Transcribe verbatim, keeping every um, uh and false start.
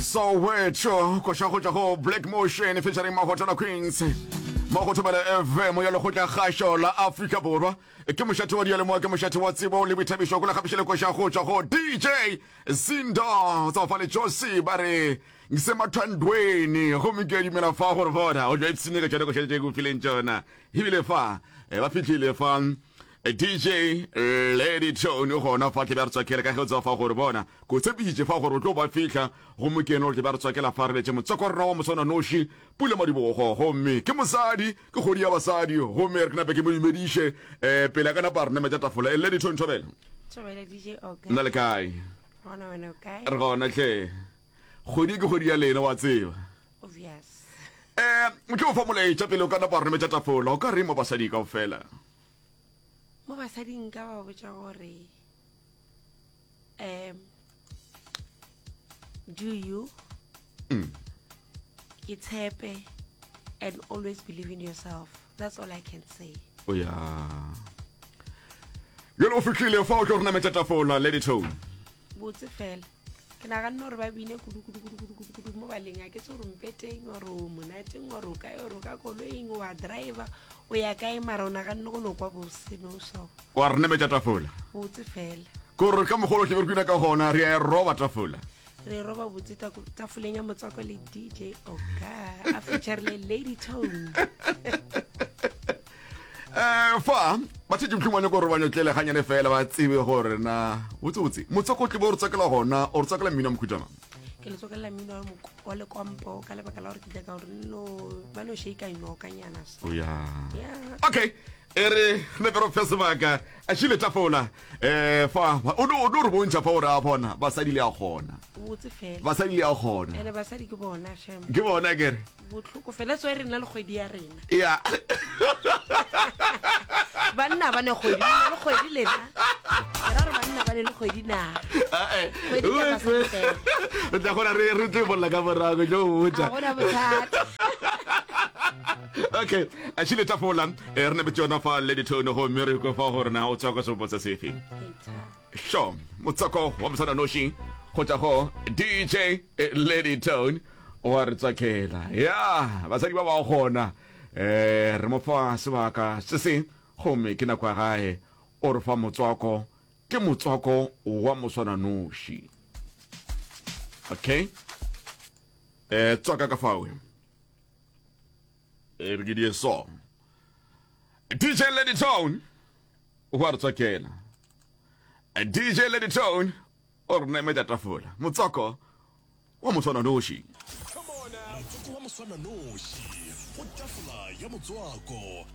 Soweto koša go tšwa go Black Motion featuring Mahotela Queens mo go Thobela F M ya Lekgotla Kgašo la Afrika Borwa. Ke mošate wa diyalemoya, ke mošate wa tsebo le boithabišo. Ko le koša go tšwa go D J Zindo tsa fa le Josi, ba re ngisemathandweni. Gomme ke a dumela fa gore bona o tla ipshine ka tšona koša tše ko fileng tšona. Ebile fa eh, ba fihlile fa eh, D J Lady Tone gona fa tle ba re tswakela, ka ge o tseba fa gore bona ko tshepišitše fa gore o tlo ba fihla. Gomme ke ene o tle ba re tswakela fa re letse motswako wa rena wa moswana noši, Pula Madibogo. Gomme ke mosadi, ke kgodi ya basadi. Gomme re ke nape ke mo dumediše um pele a ka napa re nametša tafola. E Lady Tone, thobela. Thobela, D J Oka. Nna le kae? Gona, wena o kae? Re gona tlhe. Kgwedi ke kgwedi ya lena, wa tseba. Obvious. um ke o fa molaetša pele o ka napa re nametša tafola. O ka re mo basadi kao fela? Mo basading nka ba botša gore um do you Mm. itshepe and always believe in yourself. That's all I can say. O ya jale o fihlile fa o tlo re nametša tafola, Lady Tone. Botse fela. Ke naganne gore ba bine kudu kudu kudu kudu kudu kudu mo baleng. A ke tse gore mpeteng ore o monateng ore o kae ore o ka koloing wa driver o ya kae, mara o naganne go no kwa bose no so. Wa re nametša tafola. Botse fela. Kore ka mogolo tle be re kwina ka gona, re a e roba tafola. Re roba botse tako- tafoleng ya motswako le D J Oka a featurile Lady Tone. um fa bathetše mohlomong gore ba nyotlele ganyane fela, ba tsebe gore na botsebotse motswako o tle bo re tswakela gona, o re tswakela mmino wa mokhutama. Ke le tswakelela mmino wa moko- wa lekompo ka lebaka la gore ke nyaka gore no ba no shaka nyokanyana so. O ya. Yeah. Okay, e re nepe re fe sebaka a šile tafola um fa o no o no re bontšha fa gore a bona basadi le a kgona. Botse fela. Basadi le a kgona. Ene basadi ke bona shem. Ke bona kere. Botlhoko fela tso e rena le kgwedi ya rena. Ya. Banna ba ne kgwedi, le le kgwedi lena. Ke ra gore banna ba ne le kgwedi na? Kgwedi ke ya basadi fela. Re tla gona re re tlo bolla ka morago, tlo go botša. Ga gona bothata. Okay, a šile tafola eh, re nepetse yona fa Lady Tone. Gomme re kwe fa gore na o tswa ka sepo se sefe. Sho motswako wa moswana noši go tšwa go D J Lady Tone wa re tswakela ya basadi ba ba gona. um re mo fa sebaka se se, gomme ke nako ya gae o re fa motswako, ke motswako wa moswana noši. Okay, um tswaka ka fawe e re ke die so. D J Lady Tone wa re tswakela, D J Lady Tone o re nametša tafola, motswako wa moswana noši. Motswako wa moswananoši go tafola ya motswako.